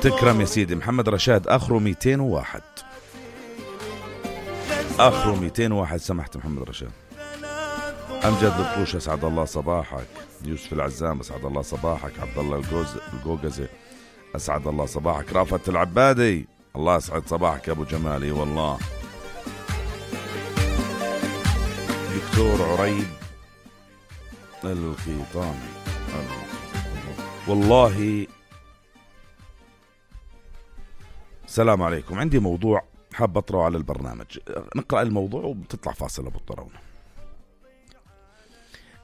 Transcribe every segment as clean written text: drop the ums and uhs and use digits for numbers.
تكرم يا سيدي. محمد رشاد آخره 201. آخره 201 سمحت محمد رشاد. أمجد الطوش أسعد الله صباحك. يوسف العزام أسعد الله صباحك. عبد الله الجوجزي أسعد الله صباحك. رافت العبادي الله أسعد صباحك يا أبو جمالي والله. دكتور عريب القيطاني والله. السلام عليكم. عندي موضوع حاب أطرحه على البرنامج. نقرأ الموضوع وبتطلع فاصلة أبو الطراونة.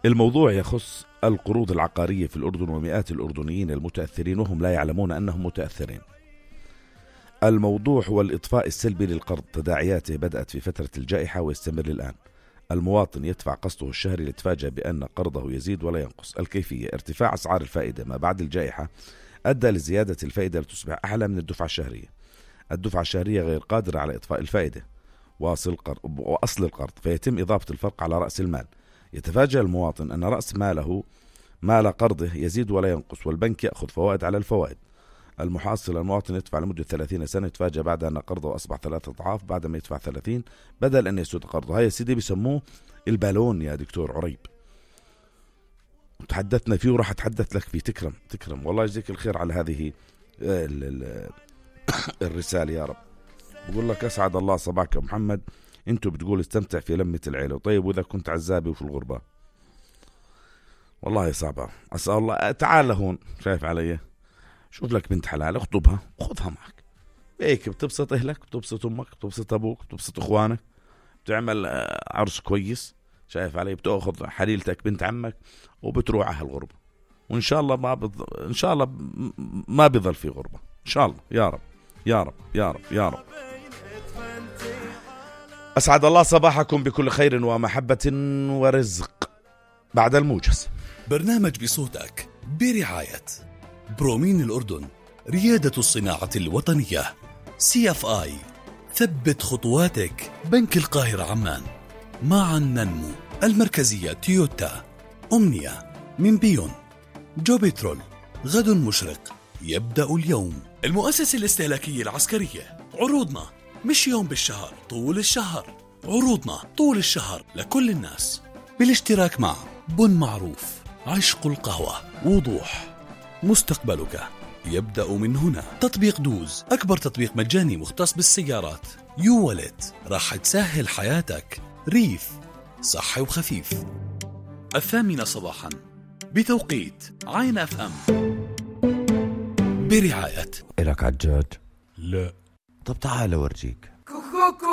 الموضوع يخص القروض العقارية في الأردن ومئات الأردنيين المتأثرين وهم لا يعلمون أنهم متأثرين. الموضوع هو الإطفاء السلبي للقرض. تداعياته بدأت في فترة الجائحة ويستمر الآن. المواطن يدفع قسطه الشهري ليتفاجأ بأن قرضه يزيد ولا ينقص. الكيفية: ارتفاع أسعار الفائدة ما بعد الجائحة أدى لزيادة الفائدة لتصبح أعلى من الدفعة الشهرية. الدفعة الشهرية غير قادرة على إطفاء الفائدة وأصل القرض، فيتم إضافة الفرق على رأس المال. يتفاجأ المواطن أن رأس مال قرضه يزيد ولا ينقص، والبنك يأخذ فوائد على الفوائد. المحصل المواطن يدفع لمدة 30 سنة، يتفاجأ بعد أن قرضه أصبح 3 أضعاف بعد ما يدفع 30 بدل أن يسود قرضه. هاي سيدي بيسموه البالون يا دكتور عريب، تحدثنا فيه وراح أتحدث لك فيه. تكرم والله يجزيك الخير على هذه الرسالة يا رب. بقول لك أسعد الله صباحك يا محمد. انتوا بتقول استمتع في لمة العيلة. طيب وإذا كنت عزابي وفي الغربة؟ والله صعبة. أسأل الله تعال هون، شايف علي؟ شوف لك بنت حلال اخطبها وخذها معك. هيك بتبسط أهلك، بتبسط أمك، بتبسط أبوك، بتبسط إخوانك، بتعمل عرس كويس، شايف علي؟ بتأخذ حليلتك بنت عمك وبتروح على الغربة، وإن شاء الله إن شاء الله ما بيظل في غربة إن شاء الله. يا رب يا رب يا رب يا رب. أسعد الله صباحكم بكل خير ومحبة ورزق. بعد الموجز برنامج بصوتك برعاية برومين الأردن، ريادة الصناعة الوطنية. CFI ثبت خطواتك. بنك القاهرة عمان. معا ننمو. المركزية تويوتا. أمنية من بيون. جوبيترول. غد مشرق يبدأ اليوم. المؤسسة الاستهلاكية العسكرية. عروضنا مش يوم بالشهر، طول الشهر. عروضنا طول الشهر لكل الناس بالاشتراك مع بن معروف. عشق القهوة. وضوح. مستقبلك يبدأ من هنا. تطبيق دوز، أكبر تطبيق مجاني مختص بالسيارات. يوالت راح تسهل حياتك. ريف صحي وخفيف. 8:00 صباحا بتوقيت عين FM برعاية. إلك عجاج؟ لا. طب تعال أورجيك.